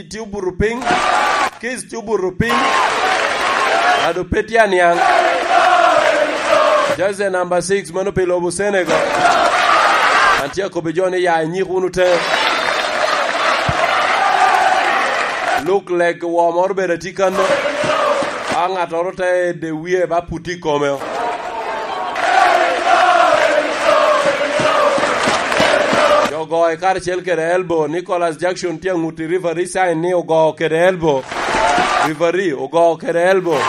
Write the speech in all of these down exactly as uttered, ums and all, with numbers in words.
Tye obuto piny. Kis tye obuto piny. Ado pe tye aniaŋ. Jersey number six, mano pi lobo Senegal. An tye akobbi jo ni ya inyik wunu te. Look like woo moro bene tye kanno. A ŋattoro te ede wie ba puti i kome. Jo goyo karacel kede elbow. Nicholas Jackson tye aŋut i referee sign ni ogo kede elbow. Referee ogo kede elbow.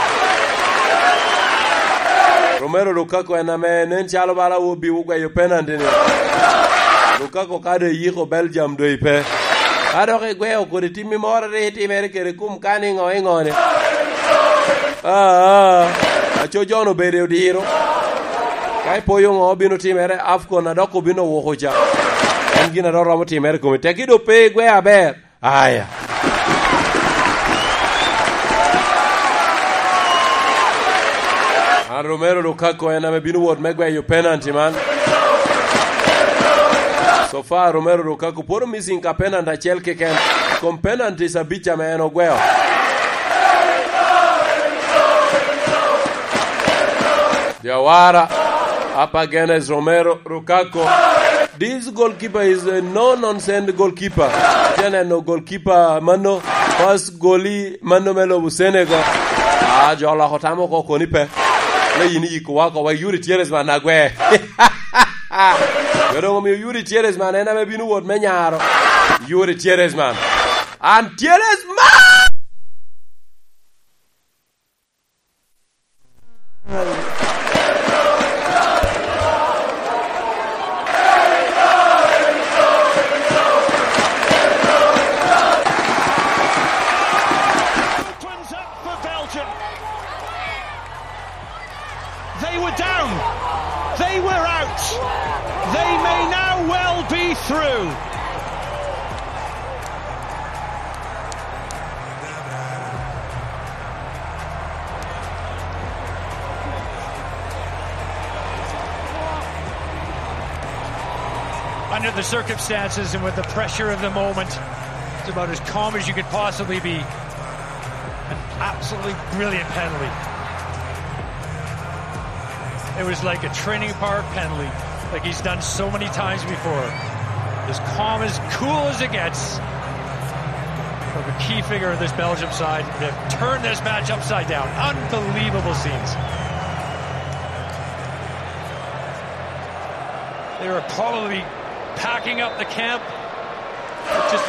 Romelu Lukaku en ame nen calo bala obi ogweyo penalty-ni. Lukaku ka doŋ iyiko Belgium doŋ ipe. Ka dok igweo kodi timmi moro rik itimere kede kom ka ni ŋo i ŋo ni. Aa, aco John obedo i odiro. Ka ipoyo ŋo obino timere, AFCON a dok obino wuko ca. En gin a dok romo timere i komi. Tekki doŋ pe igwe aber. Aya. An Romelu Lukaku en ame bino wot me gweyo penalty man. So far, Romelu Lukaku pwod missing ka penalty acel keken. Kom penalties abic ame en ogweo. Jawara, up against Romelu Lukaku. This goalkeeper is a no-nonsense goalkeeper. Itye neno goalkeeper mano, first goalie mano me lobo Senegal. Ah, jo oloko tam oko koni pe. Le yin iyiko wa oko, wa Youri Tielemans man agwe. Jo doŋ omio Youri Tielemans man en ame bino wot me nyaro. Youri Tielemans man. An Tielemans man! Opens up for Belgium. They were down. They were out. They may now well be through. Under the circumstances and with the pressure of the moment, it's about as calm as you could possibly be. An absolutely brilliant penalty. It was like a training park penalty, like he's done so many times before. As calm, as cool as it gets. But the key figure of this Belgium side, they've turned this match upside down. Unbelievable scenes. They were probably packing up the camp. Just